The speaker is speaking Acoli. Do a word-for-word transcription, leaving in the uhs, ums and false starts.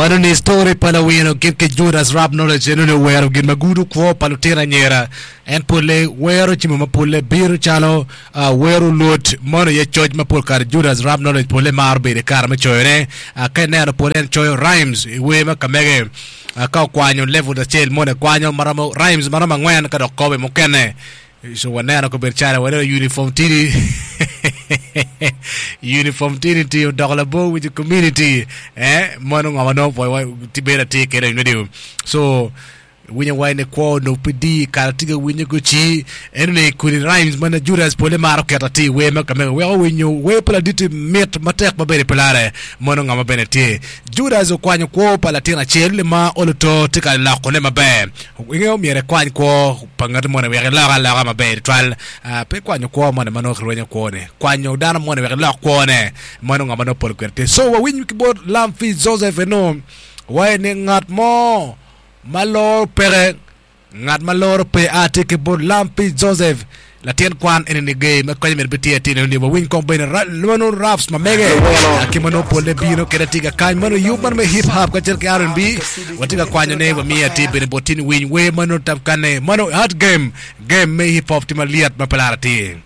Mano ni story pa lawino gin ki Judas Rap Knowledge en onongo wero gin ma gudo kwo pa lutino anyira. En polle wero jami ma polle bino calo ah, wero lut mano aye coc ma pol kare Judas Rap Knowledge polle maro bedo i kare me coyone. Ah, ka ineno polle en coyo rhymes i wer ma ka mege. Ah, ka okwanyo level acel moni kwanyo maromo rhymes maromo angwen ka dok kobo i mukene. So waneno kobedo calo waneno uniform tini uniform tini ti odoko labor with the community eh mano ngo ma nongo pwoyo ti bedo atir kede radio so winyo wai ni kwo onongo pe di kare tye ka winyo goci eno ni kodi rhymes ma na Judas pole maro keto atir wer ma kamege weko winyo wer pa laditi mit matek ma bedo i pilare mano ngo ma bene tye Judas okwanyo kwo pa latin acel ma oluto tye ka lokone maber ingeyo myero ikwany kwo pa ngat moni wek ilok aloka maber tutwal. Ah, pe kwanyo kwo moni ma nongo kirwenyo kwone, kwanyo dano moni wek ilok kwone mano ngo ma nongo pol kwede tye. So wawiny ki bot Lamfi Joseph eno waye ni ngat mo ma loro peke, ngat ma loro pe a tye ki bot Lamfi Joseph latin kwan eni ni ger ma konye myero bitye atir eno ni wawiny kong bene ra- mano raps ma mege ah, ki ma nongo polle bino kede tye ka kany mano yub man me hip hop kacel ki R and B watye ka kwanyo ne wamiyo atir bene bot tin winy wer mano tab kane mano hot game game me hip hop tye malyet ma pe lar atir.